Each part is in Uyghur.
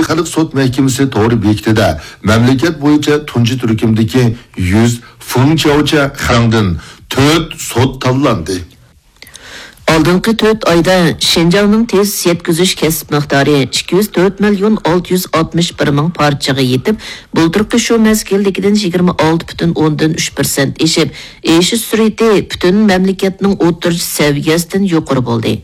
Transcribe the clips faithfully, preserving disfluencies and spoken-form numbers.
خەلق سوت مەھكىمىسى تور بېكىتىدە مەملىكەت بويىچە تۇنجى تۈركۈمدىكى يۈز فېڭچياۋچە خەڭدىن تۆت سوت تاللاندى. ئالدىنقى تۆت ئايدا شىنجاڭنىڭ تېز يەتكۈزۈش كەسىپ مىقدارى ئىككى يۈز تۆت مىليون ئالتە يۈز ئاتمىش بىر مىڭ پارچىغا يېتىپ، بۇلتۇرقى شۇ مەزگىلدىكىدىن يىگىرمە ئالتە پۈتۈن ئوندىن ئۈچ پىرسەنت ئېشىپ، ئېشىش سۈرئىتى پۈتۈن مەملىكەتنىڭ ئوتتۇرىچە سەۋىيەسىدىن يۇقىرى بولدى.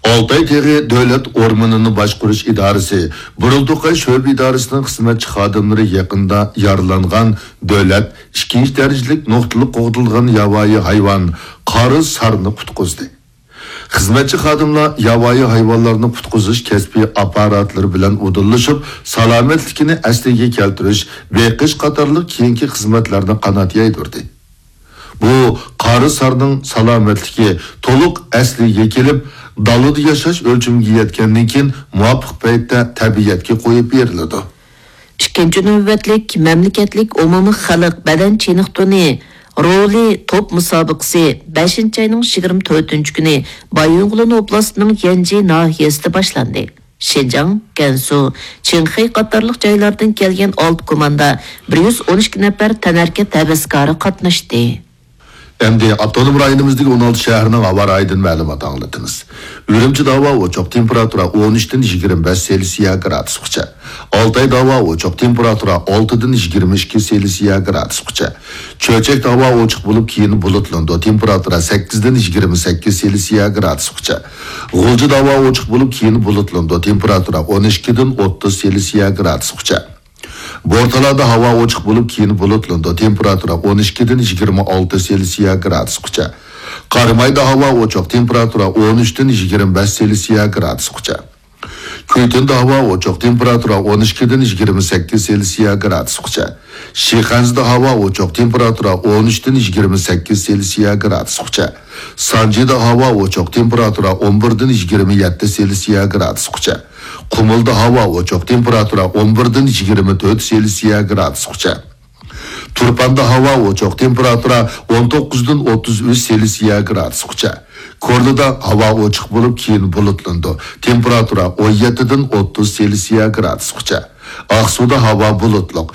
ئالتاي تېغى دۆلەت ئورمىنىنى باشقۇرۇش ئىدارىسى بۇرۇلتۇقاي شۆبە ئىدارىسىنىڭ خىزمەتچى خادىملىرى يېقىندا يارىلانغان دۆلەت ئىككىنچى دەرىجىلىك نۇقتىلىق قوغدىلىدىغان ياۋايى ھايۋان قارا سارنى قۇتقۇزدى. خىزمەتچى خادىملار ياۋايى ھايۋانلارنى قۇتقۇزۇش كەسپىي ئاپپاراتلىرى بىلەن ئۇدۇللىشىپ، سالامەتلىكىنى ئەسلىگە كەلتۈرۈش، بېقىش قاتارلىق كېيىنكى خىزمەتلەرنى قانات يايدۇردى. بۇ قارا سارنىڭ سالامەتلىكى تولۇق ئەسلىگە كېلىپ، دالىدا ياشاش ئۆلچىمىگە يەتكەندىن كېيىن، مۇۋاپىق پەيتتە تەبىئەتكە قويۇپ بېرىلىدۇ. ئىككىنچى نۆۋەتلىك مەملىكەتلىك ئومۇمىي خەلق بەدەن چېنىقتۇرۇنى رولى توپ مۇسابىقىسى بەشىنچى ئاينىڭ يىگىرمە تۆتىنچى كۈنى بايىنغولىن ئوبلاستىنىڭ يەنجى ناھىيەسىدە باشلاندى. شىنجاڭ، گەنسۇ، چىڭخەي قاتارلىق جايلاردىن كەلگەن ئالتە كوماندا بىر يۈز ئون ئىككى نەپەر تەنھەرىكەت ھەۋەسكارى قاتناشتى. ئەمدى ئاپتونوم رايونىمىزدىكى ئون ئالتە شەھەرنىڭ ھاۋا رايىدىن مەلۇمات ئاڭلىتىمىز. ئۈرۈمچىدە ھاۋا ئوچۇق، تېمپېراتۇرا ئون ئۈچتىن يىگىرمە بەش سېلسىيە گرادۇسقىچە. ئالتايدا ھاۋا ئوچۇق، تېمپېراتۇرا ئالتىدىن يىگىرمە ئىككى سېلسىيە گرادۇسقىچە. چۆچەكتە ھاۋا ئوچۇق بولۇپ، كېيىن بۇلۇتلىنىدۇ، تېمپېراتۇرا سەككىزدىن يىگىرمە سەككىز سېلسىيە گرادۇسقىچە. غۇلجىدا ھاۋا ئوچۇق بولۇپ، كېيىن بۇلۇتلىنىدۇ، تېمپېراتۇرا ئون ئىككىدىن ئوتتۇز سېلسىيە گرادۇسقىچە. بورتالادا ھاۋا ئوچۇق بولۇپ، كېيىن بۇلۇتلىنىدۇ، تېمپېراتۇرا ئون ئىككىدىن يىگىرمە ئالتە سېلسىيە گرادۇسقىچە. قارامايدا ھاۋا ئوچۇق، تېمپېراتۇرا ئون ئۈچتىن يىگىرمە بەش سېلسىيە گرادۇسقىچە. كۈيتۈندە ھاۋا ئوچۇق، تېمپېراتۇرا ئون ئىككىدىن يىگىرمە سەككىز سېلسىيە گرادۇسقىچە. شىخەنزىدە ھاۋا ئوچۇق، تېمپېراتۇرا ئون ئۈچتىن يىگىرمە سەككىز سېلسىيە گرادۇسقىچە. سانجىدا ھاۋا ئوچۇق، تېمپېراتۇرا ئون بىردىن يىگىرمە يەتتە سېلسىيە گرادۇسقىچە. قۇمۇلدا ھاۋا ئوچۇق، تېمپېراتۇرا ئون بىردىن يىگىرمە تۆت سېلسىيە گرادۇسقىچە. تۇرپاندا ھاۋا ئوچۇق، تېمپېراتۇرا ئون توققۇزدىن ئوتتۇز ئۈچ سېلسىيە گرادۇسقىچە. كورلىدا ھاۋا ئوچۇق بولۇپ، كېيىن بۇلۇتلىنىدۇ، تېمپېراتۇرا ئون يەتتىدىن ئوتتۇز سېلسىيە گرادۇسقىچە. ئاقسۇدا ھاۋا بۇلۇتلۇق،